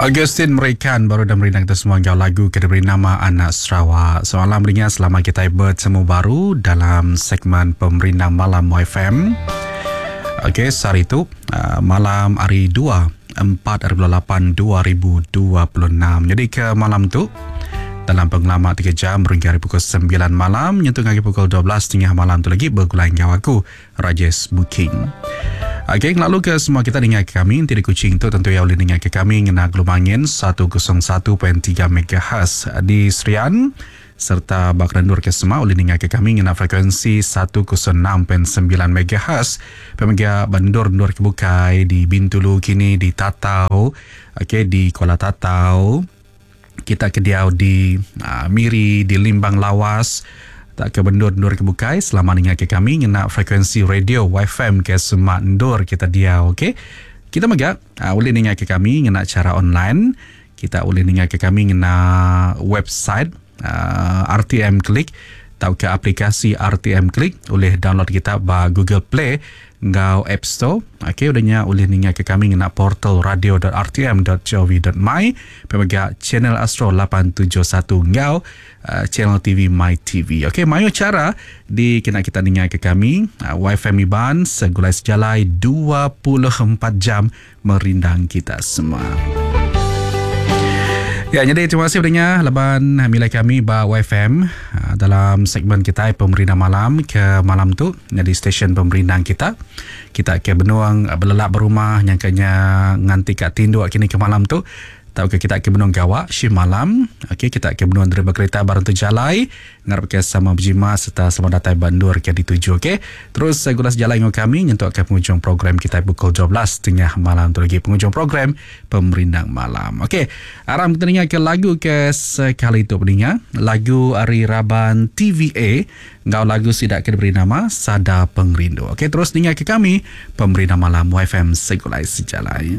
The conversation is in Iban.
Augustine Merikan baru udah merindang kita semua enggau lagu ke diberi nama Anak Sarawak. Selamat malam ringa selama kita bertemu baru dalam segmen Pemerindang Malam YFM. Okey, sehari tu uh, malam hari 2 4 hari bulan 8 2026. Jadi ke malam tu dalam pengelama 3 jam berhingga hari pukul 9 malam nyentuh ngagai pukul 12.30 malam tu lagi begulai enggau aku Rajesh Booking. Okey, ngelalu ke semua kita ninga ke kami enti di Kuching tu tentu iya ulih ninga ke kami ngena gelumangin 101.3 MHz di Serian serta ba Kerendur ke sema ulih ninga ke kami ngena frekuensi 106.9 MHz pia mega ba endur-endur ke bukai di Bintulu kini di Tatau okey di Kuala Tatau. Kita ke diau di Miri, di Limbang Lawas, tauka ba endur-endur ke bukai selama ninga ke kami ngena frekuensi radio YFM ke semak endur kita diau ok. Kita mega ulih ninga ke kami ngena chara online. Kita ulih ninga ke kami ngena website RTM Klik tauka aplikasi RTM Klik ulih download kita ba Google Play enggau App Store. Ok udah nya ulih ninga ke kami ngena portal radio.rtm.gov.my pia mega channel Astro 871 enggau uh, channel TV My TV. Ok mayuh chara dikena kita ninga ke kami uh, YFM Iban segulai sejalai 24 jam merindang kita semua. Ya, jadi terima kasih pendengar laban milih kami ba YFM ah, dalam segmen kita Pemerindang Malam ke malam tu jadi stesen pemerindang kita. Kita ke benuang ah, belelak berumah nyangkanya nganti ka tinduk kini ke malam tu tauka kita ke benung gawa shift malam okey kita ke benung driver kereta barang tu jalai Ngarap ke sama bejimat serta selamat datai ba endur ke dituju ok. Terus gula sejalai enggau kami nyentuk ke pengujung program kitai pukul 12 tengah malam tu lagi pengujung program Pemerindang Malam. Ok. Aram kita ninga ke lagu ke sekali tu peninga. Lagu ari raban TVA enggau lagu sida ke diberi nama Sada Pengerindu. Ok terus ninga ke kami Pemerindang Malam YFM Segulai Sejalai.